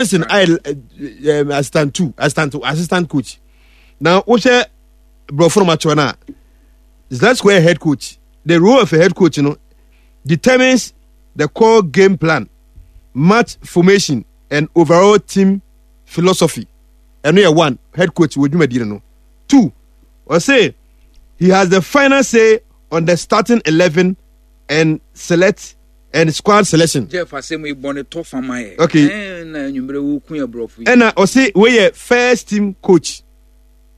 Johnson ayɛ eh, eh, assistant two assistant assistant coach na wohwɛ borɔfo no makyerɛ no a Zlatko yɛ head coach the role of a head coach no determines the core game plan match formation and overall team philosophy ɛno yɛ one head coach wɔ dwumadie no no two ɔse he has the final say on the starting 11 and select and squad selection. Jeff asɛm yi bɔ ne tɔ fa ma yɛ. Okay. Ɛna enyimire wo kun yɛ borɔfo yi. Ɛna ɔsi wei yɛ first team coach.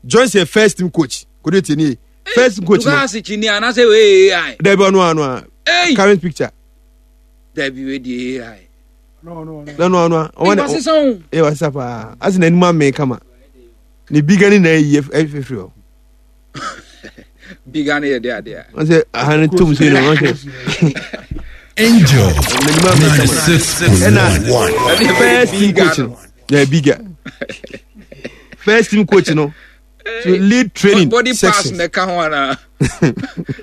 Joyce yɛ first team coach. Kodo tie nie. First team coach no. Lukas kyini anase wei AI. Dabi ɔno ano a. Current picture. Dabi wei di AI. No no no ano a. Ɔwɔ ne. Wasesa o. Ee wasesa paa. Asi n'anim amee kama. Ne biga ne na eyi efifiri hɔ. Biga no yɛ de adeɛ a. Wọ́n sɛ aha no tom sei no wọ́n sɛ. Angel 96.1. Ɛna first team coach no. Yeah, biga. First team coach no. To lead training body pass na ɛka ho ana.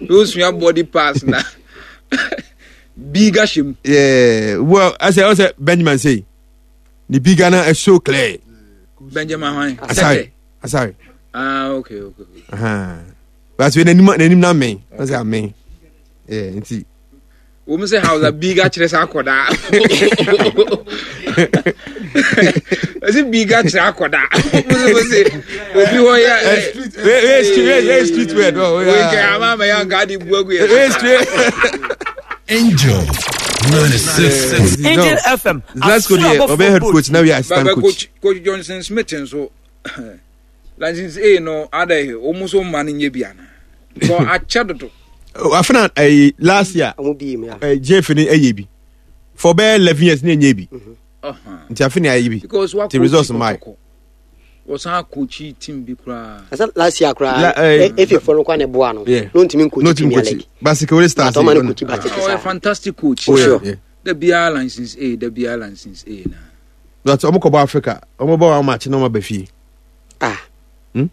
Losua body pass na. Biga hyɛ mu. Yeah, well, I say, I say Benjamin say, the biga na is so clear. Benjamin hwan? Asare. Asare. Ah, okay, okay. Uh-huh. But when n'anim n'anim na mmɛn, ɔsɛ amɛn. Yeah, nti. Wɔn sɛ hausa biga kyerɛ sɛ akɔdaa. Ɔsɛ biga kyerɛ akɔdaa. Wɔn sɛ obi hɔ yɛ. Wei street wei street word. Wei kɛ ama ama yɛ anka adi bu agu yɛ. Wei street. Angel 96. Angel FM. Zlatko deɛ ɔbɛ head coach na wei assistant coach. Coach Johnson Smith nso. License A no adɛ wɔn nso mma no nyɛ bi ana because akyɛ dodo. Oh, afena ɛyi eh, last year ɛɛ eh, jeff ni ɛyɛ bi for bɛyɛ 11 years ni ɛnyɛ bi mhm. nti afena ayɛ bi ti results mmaa yi. wɔsan akɔkyi team bi koraa. ɛsɛ last year koraa efe fɔ no kɔ ne boa no no ntumi nkɔkyi premier league. basikewele stars yi ɔno kɔkyi basike saa. ɔyɛ fantastic coach. Oh, yeah, yeah. Da biara license A da biara license A na. But ɔmo kɔ bɔ Africa ɔmo bɔ wɔn match na ɔmo aba fie. Ah. Hmm?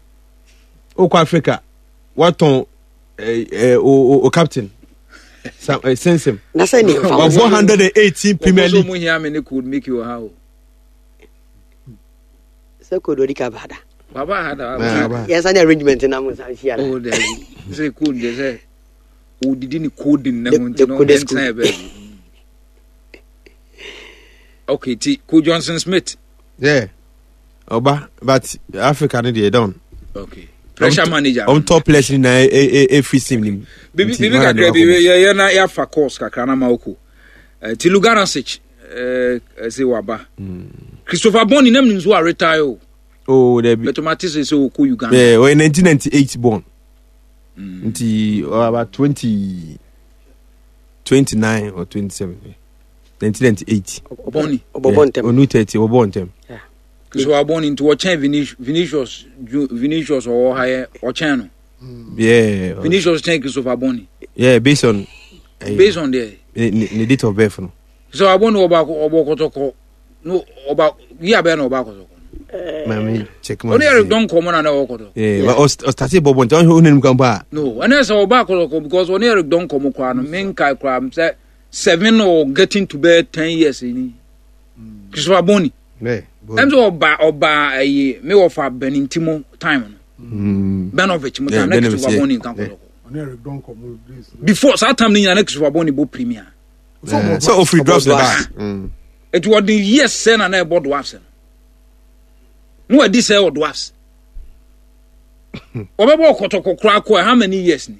Okɔ Africa watɔn eh, eh, o, o, o captain. Sam, eh, Sensim. Na sɛ ne nfa Wabɔ 118 Premier League. Wɔn nso hia me ne code make you ha o. Sɛ code odi ka ba da. Baba ha da. Ba. Yɛn sani arrangement na mo nsa hyia na. Oh dabi. Sɛ code de sɛ odidi ne coding na ho nti no ɛnsan yɛ baabi. Okay, ti ko Johnson Smith. Yeah. Oba, but Africa ne deɛ down. Okay. Pressure manager. On top players ni na every sim nim. Bibi bibi kakra bi yɛ yɛ na yɛafa course kakra na ma oko. Eh, ti Luganasic eh se waba. Hmm. Christopher Bonney nam nim so a retire o. Oh, there be. But mate sɛ sɛ ɔkɔ Uganda. Yeah, oh, 1998 born. Nti about 20 29 or 27. 1998. Bɔnni. Ɔbɔbɔ ntɛm. Onu 30 ɔbɔ ntɛm. So abɔnni nti ɔkyɛn Vinicius Vinicius ɔwɔ ha yɛ ɔkyɛn no. Yeah. Vinicius kyɛn Christopher Bɔnni. Yeah, based on. Uh, based on the. Ne date of birth no. So abɔnni ɔba ɔbɔ kɔtɔkɔ no ɔba yi abɛn na ɔba kɔtɔkɔ. Maame check ma. Ɔne Eric dɔn kɔmɔ na na ɔwɔ kɔtɔkɔ. Yeah, but ɔstarte bɔ bɔ nti ɔhwɛ ɔnenam kan pa. No, ɛnɛ sɛ ɔba kɔtɔkɔ because ɔne Eric dɔn kɔmɔ koraa no menkae koraa sɛ seven or getting to bɛyɛ 10 years ni. Christopher Boni. Ɛm sɛ ɔba ɔba ɛyi me wɔfa Benintimo time no. Benovich mo time na Christopher Boni nka kɔtɔkɔ. Before saa time no nyina na Christopher Boni bɔ premier. Sɛ ofiri dwarfs na ba. Eti ɔde years sɛ na na ɛbɔ dwarfs no. Na wadi sɛ wɔ dwarfs. Ɔbɛbɔ kɔtɔkɔ koraa kɔ how many years ni?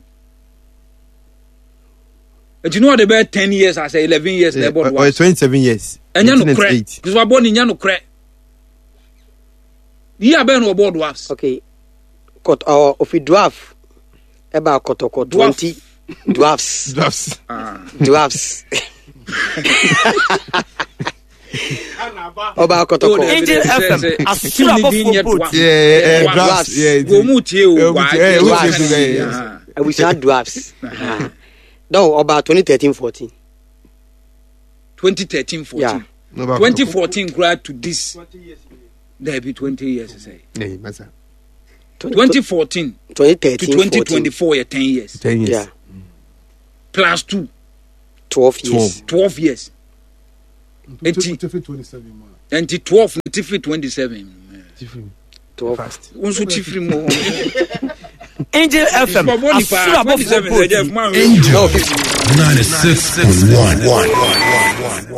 Eti na ɔde bɛyɛ 10 years asɛ 11 years na ɛbɔ dwarfs. Ɔyɛ 27 years. Ɛnyɛ no korɛ. Christopher Boni nyɛ no korɛ. Yi abɛn na ɔbɔ dwarfs. Okay. Kɔt ɔ ofi dwarf ɛba kɔtɔkɔ 20 dwarfs. Dwarfs. Dwarfs. Ọba kɔtɔkɔ. Angel FM asoro abɔfoɔ boat. Dwarfs. Wɔn mu tie o. Dwarfs. Abusua dwarfs. Dɔw ọba 2013 14. 2013 14. Yeah. 2014 kura to this. There be 20 years sɛ. 2014 2013 to 2024 yɛ 10 years. 10 years. Yeah. Plus 2. 12 years. 12 years. Eti. Nti 12 no ti firi 27. Wo nso ti firi mu. Angel FM asoro abɔfoɔ bɔ Angel 96.1.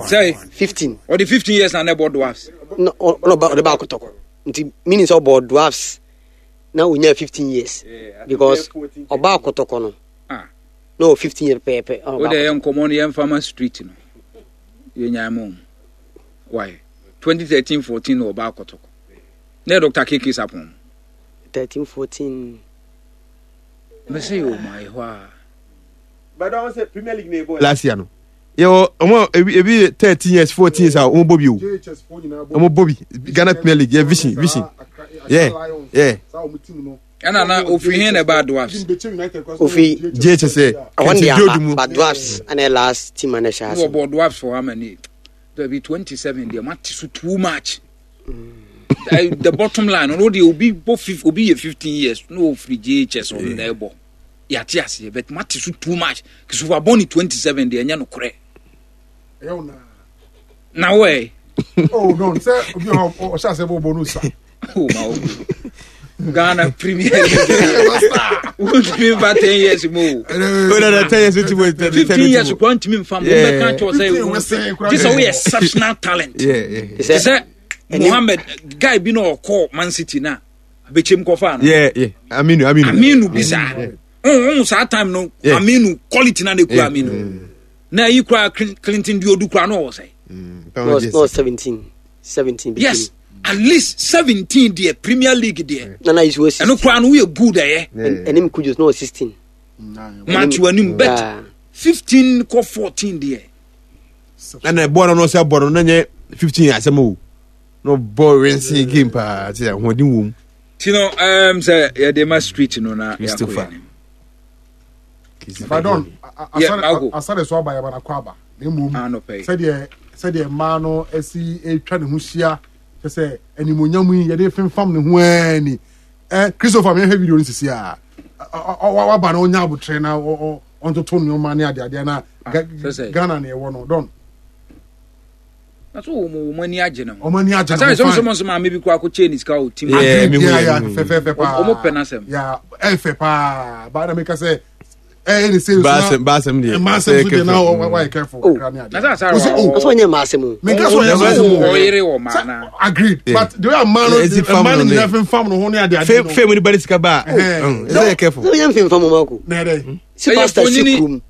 Sɛ 15. Ɔde 15 years na na ɛbɔ dwarfs. Na ɔde ba akɔtɔkɔ. Nti meaning sɛ ɔbɔ dwarfs na onya 15 years because ɔba akɔtɔkɔ no. Ah. Na ɔ 15 years pɛɛpɛ. O de yɛ nkɔmɔ no yɛn fama street no. Yɛ nyaa mu. Why? 2013 14 na ɔba akɔtɔkɔ. Na yɛ Dr. KK Sapon. 13 14. Mese yɛ ɔmo ayɛ hɔ a. But ɔmo sɛ Premier League na ebɔ last year no. Yɛ ɔmo ebi ebi 13 years 14 years a ɔmo bɔ bi o. Ɔmo bɔ bi Ghana Premier League yɛ vision vision. Yeah yeah. Ɛna na ofiri hin na ɛbaa dwarfs. Ofi JHS ɛ. Ɔhɔn de aba but dwarfs ɛna last team ana ɛhyɛ ase. Wɔ bɔ dwarfs for how many? Dabi 27 deɛ mate so too much. Mm. The bottom line ɔno deɛ obi bɔ obi yɛ 15 years na ofiri JHS ɔno na ɛbɔ. Yɛate aseɛ but mate so too much. Kisufa bɔ ne 27 deɛ ɛnyɛ nokorɛ. Na wɔ ɛ. Oh no, sɛ obi a ɔhyɛ ase bɔ bɔ no sa. Oh ma wo. Ghana Premier League. Wontumi nfa 10 years mu o. Oh no, no, 10 years ti mo. 15 years kura ntumi nfa mu. Wobɛka kyerɛ sɛ gye sɛ woyɛ exceptional talent. Te sɛ Mohammed guy bi na ɔkɔ Man City na bɛkyɛm kɔfa no. Yeah, yeah. Aminu, Aminu. Aminu bi saa. Oh, saa time no Aminu quality na na ekura Aminu. Na ayi kura Clinton Diodu kura no ɔwɔ sɛ. No, 17. 17. Yes. At least 17 deɛ Premier League deɛ. Na na is 16. Ɛno kura no woyɛ good ɛyɛ. Ɛnim Kudus no 16. Matthew anim bet 15 kɔ 14 deɛ. Ɛna ɛbɔ no no sɛ bɔ no na nyɛ 15 asɛm o. Na ɔbɔ rense game paa te ahoɔden wɔ mu. Ti no sɛ yɛde ma street no na yɛakɔ yɛn anim. Pardon, asare so aba yɛba nakɔ aba na mmom sɛdeɛ sɛdeɛ mmaa no asi atwa ne ho hyia kyɛ sɛ animonyam yi yɛde femfam ne ho ara ni eh, Christopher mehwɛ video no sisi a waba na ɔnya abotrɛ na ɔntoto nneɛma ne adeadeɛ na ah, Ghana na ɛwɔ no dɔn na so wɔn wɔn ani agye ne ho wɔn ani agye ne ho fine asɛ sɛ sɛ maame bi kɔ akɔkyɛ ne sika wɔ tim yeah, mi hu yɛ fɛfɛɛfɛ paa wɔn pɛ n'asɛm ya ɛfɛ paa baa na mi ka sɛ ɛyɛ ne sɛ baasɛm baasɛm deɛ mmaasɛm so deɛ na wayɛ careful oh. kakra ne adeɛ na sɛ asare wɔ o ɔsɛ ɔnyɛ mmaasɛm o mi nka sɛ ɔnyɛ mmaasɛm o ɔyere wɔ maa na agreed but the way mmaa no mmaa no nyinaa fɛnfam no ho ne adeɛ adeɛ no fɛn mu ni ba ne sika ba ɛsɛ yɛ careful sɛ ɔnyɛ mfɛnfam o ma ko na yɛ dɛ sɛ pastor si kurom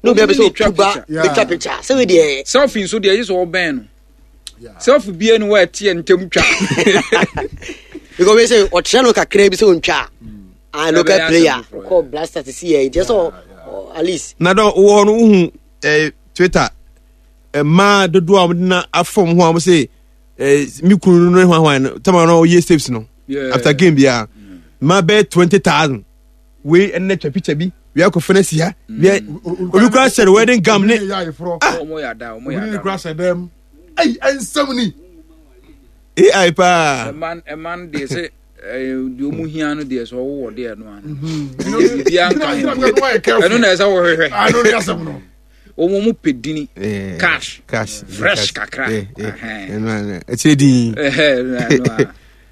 na obi abɛsɛ otu ba betwa picture sɛ wei deɛ. Selfie nso deɛ ɛyɛ sɛ ɔbɛn no selfie bie no wɔ ɛteɛ ntɛm twa. Because wei sɛ ɔkyerɛ no kakra bi sɛ ɔntwa a local player kɔ blaster te si yɛ nti ɛsɛ at least. Na dɔn wɔ hɔ no wohu eh, Twitter mmaa dodoɔ a wɔde na afɔm ho a wɔn sɛ eh, me kunu no ne hwan hwan no tama no ɔyɛ saves no after game biara mmaa bɛyɛ 20,000. Wei ɛnna twa picture bi wei akɔfɛ no asi ha wei obi kura hyɛ no wedding gown ne ah obi ne kura hyɛ dɛm ɛyi ɛnsɛm ni ai paa ɛman ɛman deɛ sɛ deɛ ɔmu hia no deɛ sɛ ɔwowɔ deɛ no ano biribiara nka ho ɛno na ɛsɛ wɔhwehwɛ wɔn mu pɛ dini cash cash fresh kakra ɛkyerɛ din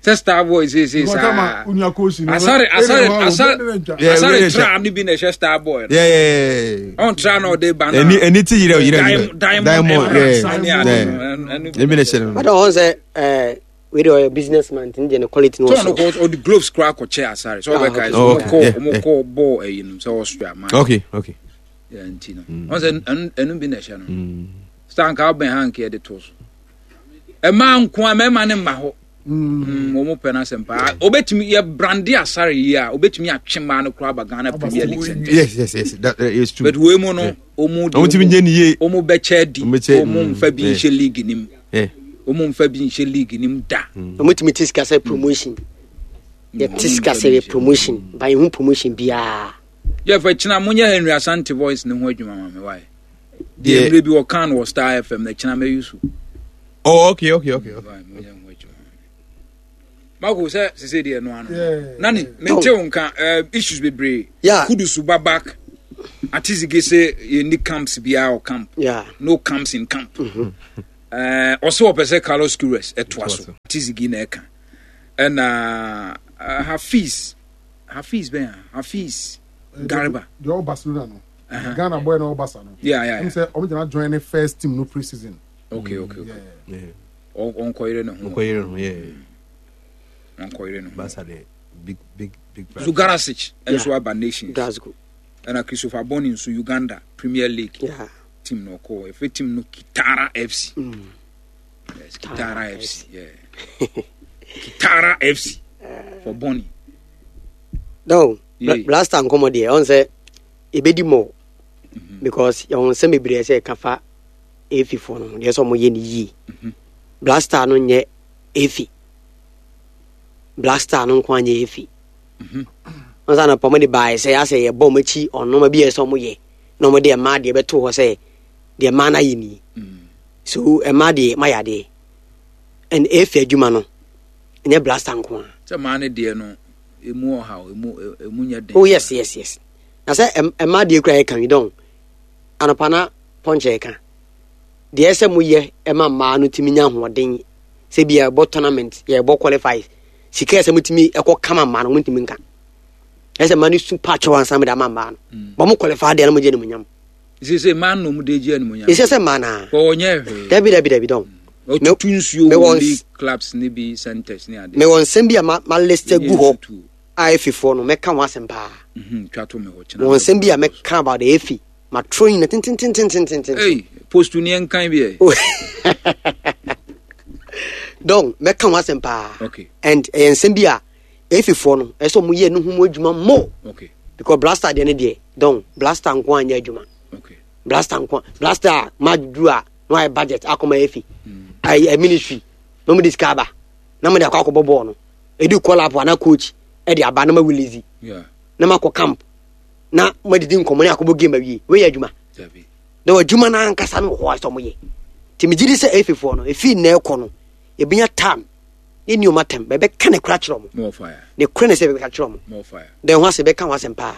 sɛ star boy seesei saa asare asare asare asare tra no bi na ɛhyɛ star boy no ɔn tra na ɔde ba na ɛni ɛni ti yirɛ yirɛ yirɛ diamond emerald ne ade no ɛni bi na ɛhyɛ no. Bàtà ɔhɔn sɛ ɛɛ wei de ɔyɛ business man nti ne deɛ ne quality no wɔ so. Tɔn no ɔde gloves kura akɔkyɛ asare sɛ ɔbɛka sɛ ɔmo kɔ ɔmo kɔ bɔɔl ɛyi no sɛ Austria man. Okay okay. Nti no ɔn sɛ ɛnu bi na ɛhyɛ no star nka ɔbɛn ha nka yɛde to so ɛmaa nko a mɛma ne mma hɔ. Mm, wɔn pɛ n'asɛm paa obetumi yɛ brande asare yi a obetumi atwe mmaa no koraa aba Ghana Premier League sɛntɛ. Yes yes yes that is true. But wei mu no wɔn de wɔn ti nye ne yie wɔn bɛkyɛ di wɔn nfa bi nhyɛ league nim wɔn nfa bi nhyɛ league nim da. Wɔn tumi ti sika sɛ promotion yɛ ti sika sɛ yɛ promotion ba yɛn ho promotion biara. Yɛ fɛ kyina mo nyɛ Henry Asante voice ne ho adwuma ma mi wa yɛ. Deɛ mmerɛ bi wɔka no wɔ Star FM na kyina mɛyi so. Oh, okay, okay, okay. okay. Mako sɛ sese deɛ no ano. Nani mente wo nka eh, issues bebree. Yeah. Kudusu ba back. Atizige sɛ yɛnni camps biara wɔ camp. Yeah. No camps in camp. Mm -hmm. Ɔsɛ ɔpɛ sɛ Carlos Queiroz ɛtoa so. Tizigi na ɛka. Ɛna Hafiz Hafiz bɛn a Hafiz Garba. Deɛ ɔwɔ Barcelona no. Ghana boy na ɔwɔ Barca no. Yeah yeah. Ɛm sɛ ɔmo gyina join ne first team no pre-season. Okay okay okay. Yeah. Ɔnkɔyere ne ho. Ɔnkɔyere ne ho yeah. Ɔnkɔyere ne ho. Barca de big big big. Zugarasic nso aba Nations. Glasgow. Ɛna Christopher Boni nso Uganda Premier League. Yeah. Team no ɔkɔ efe team no Kitara FC. Yes, Kitara FC. Yeah. Kitara FC for Boni. No, yeah. Blaster nkɔmɔ deɛ ɔn sɛ ebedi mɔ because yɛn nsɛm bebree sɛ ɛka fa efi fo no deɛ sɛ ɔmo yɛ ne yie. Blaster no nyɛ efi. Blaster no nko anyɛ efi. Ɔn sɛ anɔpa ɔmo de baayɛ sɛ asɛ yɛ bɔ ɔmo akyi ɔnoma bi yɛ sɛ ɔmo yɛ na ɔmo de ɛmaa deɛ bɛto hɔ sɛ deɛ mmaa no ayɛ nie. So ɛmaa deɛ mayɛ adeɛ. And efi adwuma no ɛnyɛ blaster nko a. Sɛ mmaa no deɛ no emu ɔhaw emu emu nyɛ den. Oh yes yes yes. Na sɛ ɛmaa deɛ kura yɛ kan yi dɔn anɔpa na pɔnkyɛ yɛ ka. Deɛ ɛsɛ mo yɛ ɛma mmaa no tumi nya ahoɔden sɛ bi yɛbɔ tournament yɛbɔ qualify sika ɛsɛ mo tumi ɛkɔ kama mmaa no mo ntumi nka. Ɛsɛ mmaa no su pa kyɛw ansa mo de ama mmaa no. Bɔ mo qualify deɛ no mo gye ne mo nyam. Sɛ mmaa no mo de gye animuonyam. Ɛsɛ sɛ mmaa naa. Wɔnyɛ hwee. Dabi dabi dabi dɔn. Ɔtutu nsuo wɔ league clubs ne bi centers ne ade. Mewɔ nsɛm bi a ma ma list gu hɔ a efifoɔ no mɛka ho asɛm paa. Twa to me hɔ kyena. Mewɔ nsɛm bi a mɛka about the efi ma tro nyina tentententententen. Ei post ni ɛnkan bi ɛ. Dɔn mɛka ho asɛm paa. Okay. And ɛyɛ nsɛm bi a efifoɔ no ɛsɛ ɔmo yɛ ne ho mu adwuma mo. Okay. Because blaster deɛ ne deɛ dɔn blaster nko anyɛ adwuma. Okay. Blaster nko blaster a ma duru a na wayɛ budget akɔma efi ayi mm. ministry na wɔn de sika aba na wɔn de akɔ akɔbɔ bɔɔl no edu call up ana coach ɛde aba na ma release na ma kɔ camp na ma didi nkɔmɔ ne akɔbɔ game awie wei yɛ adwuma na wɔ adwuma no ankasa no wɔ hɔ a sɛ wɔn yɛ te me gyi di sɛ efi foɔ no efi na ɛkɔ no ebinya time ne ni ɔmo atɛm bɛbɛka ne kora kyerɛ ɔmo ne kora ne sɛ bɛbɛka kyerɛ ɔmo dɛn ho asɛm bɛka ho asɛm paa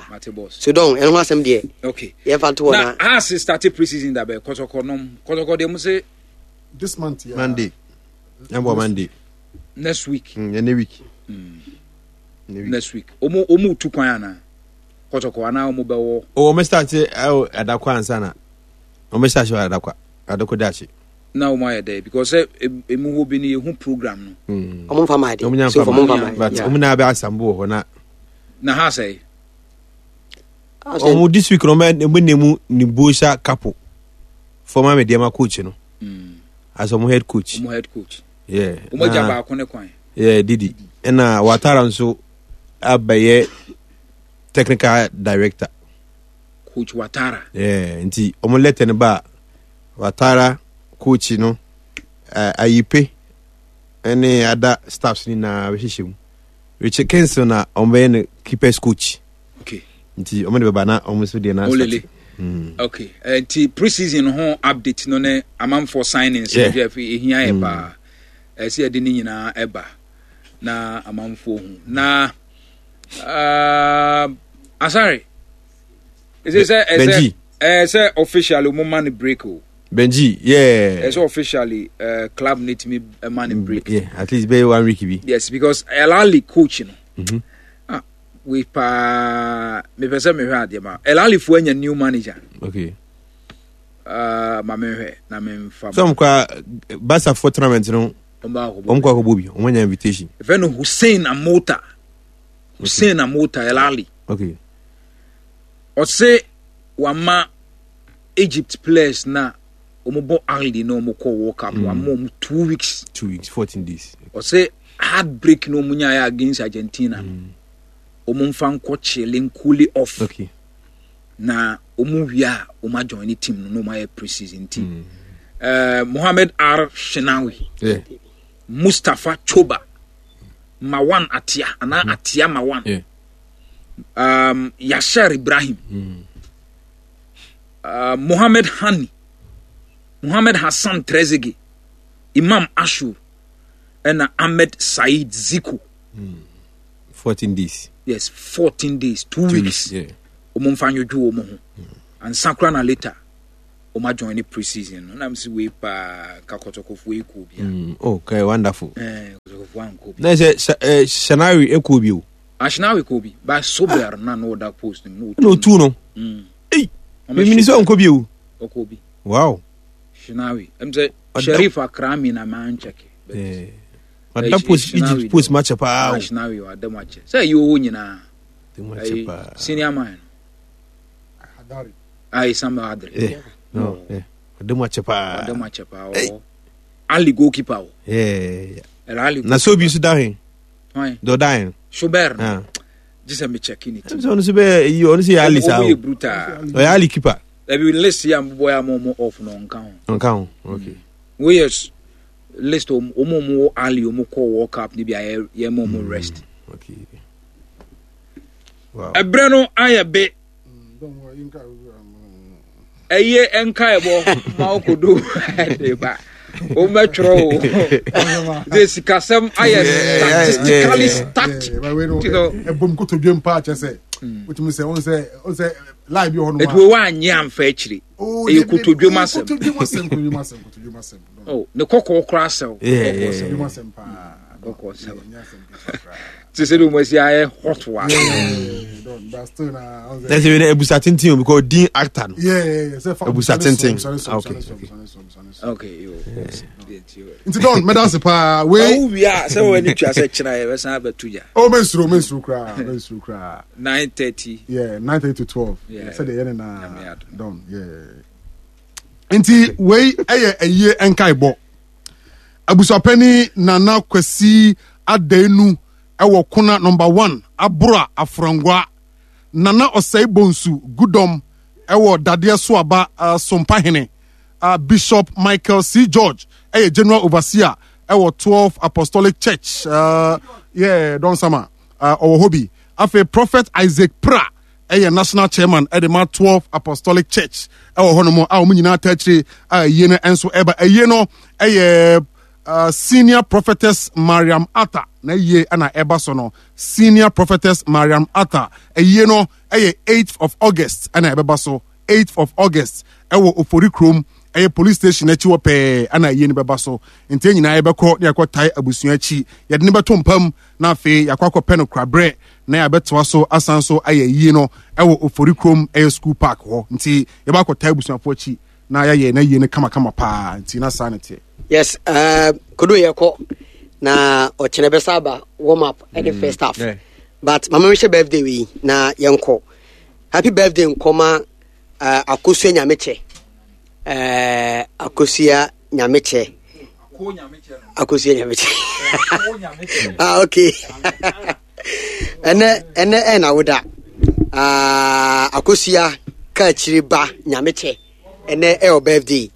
so dɔn ɛno ho asɛm deɛ okay yɛmfa nto hɔ na na ase start pre-season da bɛ kɔtɔkɔ nom kɔtɔkɔ deɛ mo se this month yeah. Monday ɛbɔ Monday next week ɛne week next week ɔmo ɔmo tu kwan ana kɔtɔkɔ ana ɔmo bɛwɔ ɔmo start ɛwɔ adakɔ ansa na ɔmo start wɔ adakɔ adakɔ daakye na wɔn ayɛ dɛ because sɛ emu hɔ bi no yɛhu program no. Wɔn nfa maa de so wɔn nfa maa but wɔn na abɛ asambo wɔ hɔ na. Na ha sɛ. Wɔn this week no wɔn bɛ nemu Nibosa Kapo former Medeama coach no mm. as wɔn head coach. Wɔn head coach. Yeah. Wɔn agya baako ne kwan. Yeah Didi ɛna Watara nso abɛyɛ technical director. Coach Watara. Yeah nti wɔn letter no ba. Watara coach no eh, Ayipe ne ada staffs no nyinaa bɛhyehyɛ mu. Richard Kingston na wɔbɛyɛ no keepers coach. Okay. Nti wɔn de bɛba na wɔn nso deɛ na Olele. Okay. Eh, nti pre-season ho update no ne amanfoɔ signings yeah. no ehia yɛ paa. Ɛsɛ yɛde ne nyinaa ɛba na amanfoɔ hu. Na uh, asare. Ɛsɛ sɛ ɛsɛ Ɛɛ sɛ officially ɔmo ma no break o. Benji, yeah. Ɛsɛ officially uh, club ne tumi ma no break. Yeah, at least bɛyɛ one week bi. Yes, because El Ahly coach no. Mm -hmm. Ah, we paa mepɛ sɛ mehwɛ adeɛ ma El Ahly fo anya new manager. Okay. Uh, ma mehwɛ na memfa. Some kwa Barca for tournament no. Ɔmo kɔ akɔbɔ bi, ɔmo anya invitation. Ɛfɛ no Hussein Amota. Hussein Amota El Ahly. Okay. Ɔse wama Egypt players na wɔn bɔ Ahly na wɔn kɔ World Cup wama wɔn 2 weeks. 2 weeks, 14 days. Ɔse heartbreak na wɔn nyaayɛ against Argentina no wɔn nfa nkɔ kyele nkuli off. Na wɔn wie a wɔn ajoin ne team no na wɔn ayɛ pre-season team. Mohamed R Shinawi. Mustafa Choba. Mawan Atia anaa Atia Mawan. Yasser Ibrahim. Mohamed Hani, Mohamed Hassan Trezeguet, Imam Ashur, ɛna Ahmed Said Ziko. 14 days. Yes, 14 days, 2 weeks. Wɔn mfa nwodwo wɔn ho. Ansa koraa na later. Ɔma join ne pre-season no. Na msi wei paa ka kɔtɔkɔfoɔ yi kɔɔ bi a. Mm, okay, wonderful. Eh, kɔtɔkɔfoɔ ankɔ bi. Na sɛ eh, Shanawi ɛkɔɔ bi o. Ashnawi kɔɔ bi. Ba Sober na no ɔda post no. Na otu no. Mm. Ei, mimini sɛ ɔnkɔ bi o. Ɔkɔɔ bi. Wow. Shinawi. Ɛm sɛ Sharif Akrami na man check. Eh. Ɔda post Egypt post ma kyɛ paa o. Ashnawi ɔda mu akyɛ. Sɛ ɛyɛ owó nyinaa. Senior man. Hadari. Ayi Samuel Adri. Eh, no, eh. Ɔda mu akyɛ paa. Ɔda mu akyɛ paa. Ɔwɔ Ali goalkeeper o. Yeah. Ali. Na so bi nso da he. Dɔ da he. Schubert. Ah. Gye sɛ me check ne ti. Sɛ ɔno nso bɛ yi ɔno nso yɛ Ali saa o. Ɔmo yɛ brutal. Ɔyɛ Ali keeper. Ɛbi list yi a mo bɔ ya mo mo off no ɔnka ho. Ɔnka ho. Okay. Wo yɛ list ɔmo ɔmo wɔ Ali ɔmo kɔ World Cup ni bi a yɛ yɛ mo ɔmo rest. Okay. Ɛbrɛ no ayɛ be. Ɛyɛ nkaebɔ ma wokodo de ba. Womɛtwerɛ o. De sikasɛm ayɛ statistically stacked. Ɛbom kotodwe mpa kyɛ sɛ. Wotumi sɛ wɔn sɛ wɔn sɛ lie bi wɔ hɔ nom. Etu wo anyɛ amfa akyire. Oh, Ɛyɛ kotodwe mu asɛm. Kotodwe mu asɛm kotodwe mu asɛm kotodwe mu asɛm. Oh, ne kɔkɔɔ koraa sɛw. Kotodwe mu asɛm paa. Kɔkɔɔ sɛw. Te sɛ de wɔn asi ayɛ hot wa. Na sɛ wei abusa tenten o because din actor no. Abusa tenten. Okay. Okay. Yo. Nti Don mɛda ase paa wei. Ɔwɔ wia sɛ wɔn ani tua sɛ kyerɛ yɛ bɛsan abɛto gya. Oh mɛnsuro mɛnsuro koraa mɛnsuro koraa. 9:30. Yeah 9:30 to 12. Yeah. Sɛ deɛ yɛ ne na Don yeah. Nti wei ɛyɛ ɛyie nkaebɔ. Abusuapɛni Nana Kwasi Adaenu wɔ Kona Number One, Abora Afrangua. Nana Osei Bonsu Gudom wɔ Dadeɛ Soaba Sompahene. Bishop Michael C. George yɛ General Overseer wɔ 12 Apostolic Church. Yeah, Don Sama ɔwɔ hɔ bi. Afei Prophet Isaac Pra yɛ National Chairman de ma 12 Apostolic Church wɔ hɔnom a wɔn nyinaa taa akyire a ayie no nso ɛba. Ayie no yɛ uh, Senior Prophetess Mariam Atta na ayie na ɛba so no. Senior Prophetess Mariam Atta ayie no yɛ 8th of August na ɛbɛba so. 8th of August ɛwɔ Ofori kurom ɛyɛ police station akyi hɔ pɛɛ ɛna ayie no bɛba so. Nti yɛn nyinaa yɛbɛkɔ ne yɛakɔ tae abusua akyi. Yɛde no bɛto mpam na afei yɛakɔ akɔpɛ no koraberɛ na yɛabɛtoa so asan so ayɛ ayie no ɛwɔ Ofori kurom ɛyɛ school park hɔ. Nti yɛbɛ akɔtae abusuafoɔ akyi na yɛayɛ n'ayie no kamakama paa. Nti na saa ne teɛ. Yes, uh, kodo yɛkɔ na ɔkyena bɛsa aba warm up ɛne mm, first half. Yeah. But mama mehyɛ birthday wei na yɛnkɔ. Happy birthday nkɔma uh, Akosua Nyamekyɛ. Uh, Akosua Nyamekyɛ. Akosua Nyamekyɛ. ah, okay. Ɛnɛ ɛnɛ ɛna woda. Uh, Akosua Kaakyire ba Nyamekyɛ. Ɛnɛ ɛwɔ birthday.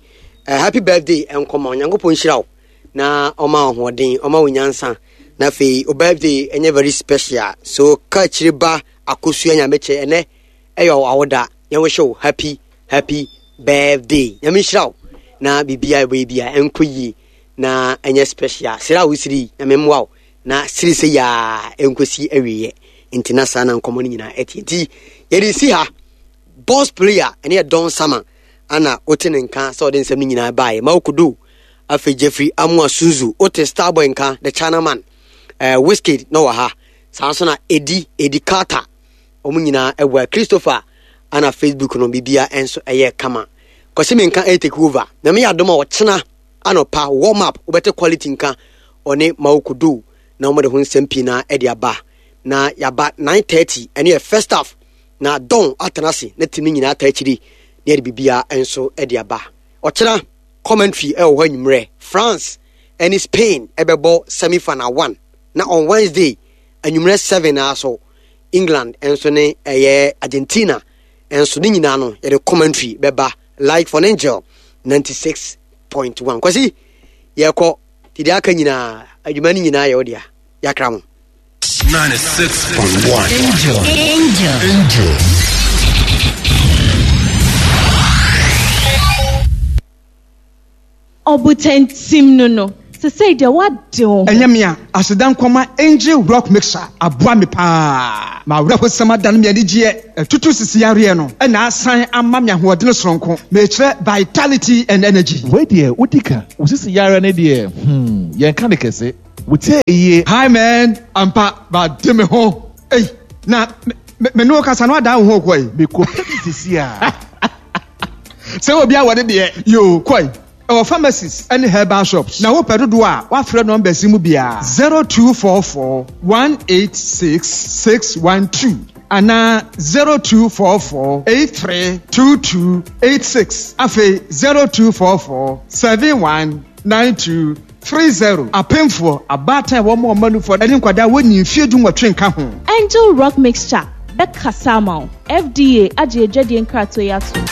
Uh, happy birthday nkɔma Onyankopɔn nhyira wo na ɔma ahoɔden ɔma wo nyansa na afei o birthday ɛnyɛ very special so kaakyire ba Akosua Nyamekyɛ ɛnɛ ɛyɛ awoda yɛn wish wo happy happy birthday Nyame nhyira wo na biribiara ɛbɛyɛ bia ɛnkɔ yie na ɛnyɛ special sere a wosiri yi Nyame mmoa wo na siri sɛ yaa ɛnkɔsi awieɛ nti na saa na nkɔmmɔ no nyinaa ɛteɛ nti yɛde si ha boss player ɛne yɛ Don Sama ana wote ne nka sɛ ɔde nsɛm no nyinaa baeɛ ma wokodo afei Jeffrey Amoa Sunzu wote Starboy nka the China man uh, Wizkid na wɔ ha Saa nso na Edi, Edi Carter, wɔn nyinaa ɛwɔ Christopher ana Facebook no bibia nso ɛyɛ kama. Kwasi Menka ɛyɛ take over. Na meyɛ adom a ɔkyena anɔpa warm up wobɛte quality nka ɔne Mawukudu na wɔde ho nsɛm pii na ɛde aba. Na yaba 9:30 ɛne yɛ first half na Don atena ase na team no nyinaa ata akyiri na yɛde bibia nso ɛde aba. Ɔkyena commentary ɛwɔ hɔ anwummerɛ France ɛne Spain ɛbɛbɔ semi final 1. Na on Wednesday anwummerɛ 7 ara so England nso ne ɛyɛ Argentina nso ne nyinaa no yɛde commentary bɛba live on Angel 96.1. Kwasi yɛkɔ ti deɛ aka nyinaa adwuma no nyinaa yɛ wo dea yɛakra mo. 96.1 Angel. Angel. Angel. Ɔbotantim no no. Sesei deɛ woade wo ho. Ɛnyɛ me a, aseda nkɔma Angel Rock Mixer aboa me paa. M'awerɛhosɛm adane me anigyeɛ, atutu sisi yareɛ no na asan ama me ahoɔdene soronko. Mekyerɛ vitality and energy. Wei deɛ wodi ka. Wo sisi yareɛ no deɛ hmm yɛnka no kɛse. Wo tie yie. Hi man, ampa made me ho ei na me ne wo kasa no adan wo ho kɔ yi. Mekɔ pɛ bi sisi a. Sɛ obi awɔ ne deɛ yoo kɔ yi. Ɛwɔ pharmacies ne herbal shops. Na wopɛ dodoɔ a, woafrɛ numbers yi mu biara, 0244 186 612 anaa 0244 83 22 86, afei 0244 71 92 30. Apemfoɔ, abaatan a wɔma wɔn mma nufoɔ ne nkwadaa a wɔnnii mfeɛ dunwɔtwe nka ho. Angel Rock Mixture bɛkasa ama wo. FDA agye adwadie nkratoɔ yi atom.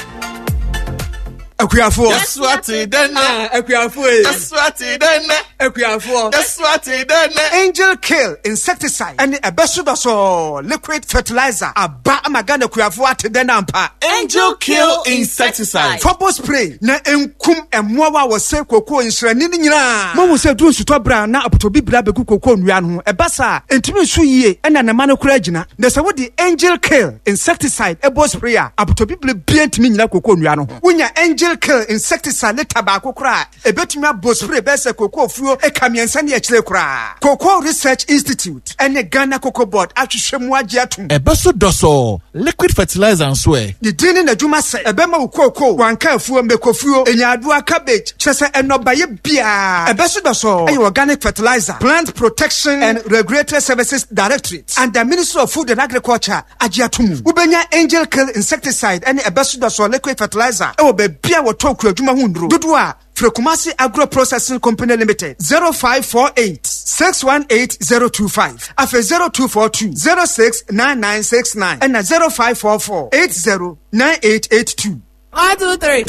Akuafoɔ. Yɛso ate dɛ nnɛ. Ah, akuafoɔ ee. Yɛso ate dɛ nnɛ. Akuafoɔ. Yɛso ate dɛ nnɛ. Angel Kill insecticide ɛne ɛbɛso dɔsɔɔ liquid fertilizer aba ama Ghana akuafoɔ ate dɛ no ampa. Angel Kill insecticide. Fɔbɔ spray na ɛnkum mmoawa a wɔsɛe kookoo nsrani no nyinaa. Moahu sɛ ɛduru nsutɔ berɛ a na apotobibire abɛgu kookoo nnua no ho. Ɛba saa a, ɛntumi nso yie ɛna ne mma no koraa gyina. Na sɛ wode Angel Kill insecticide bɔ spray a, apotobibire biara ntumi nnyina kookoo nnua no ho. Wonya Angel Kill insecticide lita baako koraa a, ɛbɛtumi abɔ spray bɛyɛ sɛ kookoo fuo eka mmiɛnsa ne akyire koraa. Cocoa Research Institute ne Ghana Cocoa Board ahwehwɛ mu agye atom. Ɛbɛso dɔsɔɔ, liquid fertilizer nso ɛ? Ne din ne n'adwuma sɛ ɛbɛma wo kookoo, wanka afuo, mmekofuo, nyaadoa, cabbage, kyerɛ sɛ nnɔbaeɛ biara. Ɛbɛso dɔsɔɔ yɛ organic fertilizer, Plant Protection and Regulatory Services Directorate under Ministry of Food and Agriculture agye ato mu. Wobɛnya Angel Kill insecticide ne ɛbɛso dɔsɔɔ liquid fertilizer wɔ baabi a wɔtɔn kuadwuma ho nnuro dodoɔ a Frɛ Kumasi Agro Processing Company Limited, 0548 618 025, afei 0242 069969 ɛna 0544 80 9882. One, two, three.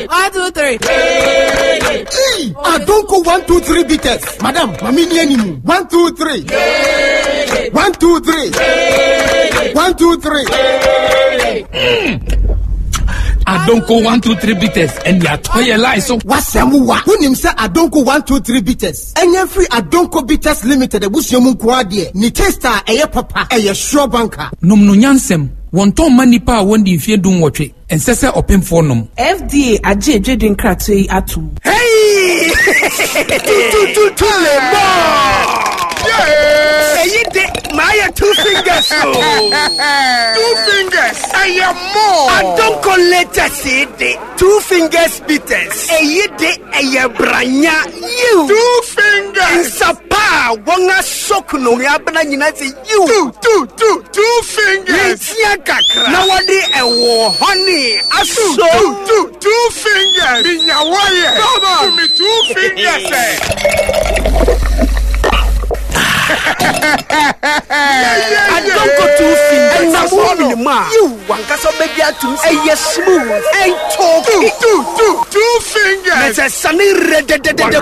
One, two, three. Hey, Adonko one, two, three bitters. Madam, mami ni animu. One, two, three. One, two, three. One, two, three. Adonko one two three bitters ɛni atɔ yɛ lai so. Wasɛm wa. Wonim sɛ Adonko one two three bitters ɛnyɛ firi Adonko Bitters Limited abusua mu nko adeɛ. Ne taste a ɛyɛ papa, ɛyɛ sure banker. Nom no nyansɛm. Wɔntɔn mma nnipa a wɔndi mfeɛ dunwɔtwe. Ɛnsɛ sɛ ɔpemfoɔ nom. FDA agye adwadie nkratoɔ yi atom. Hey! Tutututu le bɔ! Eyi de maa yɛ two fingers o. Two fingers ɛyɛ more. Adonko latest yi de two fingers bitters. Eyi de ɛyɛ branya yiw. Two fingers. Nsapa a wɔn asɔ kunu abena nyinaa sɛ yiw. Two two two two fingers. Ntia kakra. Na wɔde ɛwɔ honey aso. Two two two fingers. Minya wɔyɛ. Come on. Me two fingers. Adonko two fingers. Ɛnam wo mene mu a. Yiw wankasa bɛgye atum. Ɛyɛ smooth. Ɛntɔɔki. Two two two two fingers. Na sɛ sane rɛdɛdɛdɛdɛ.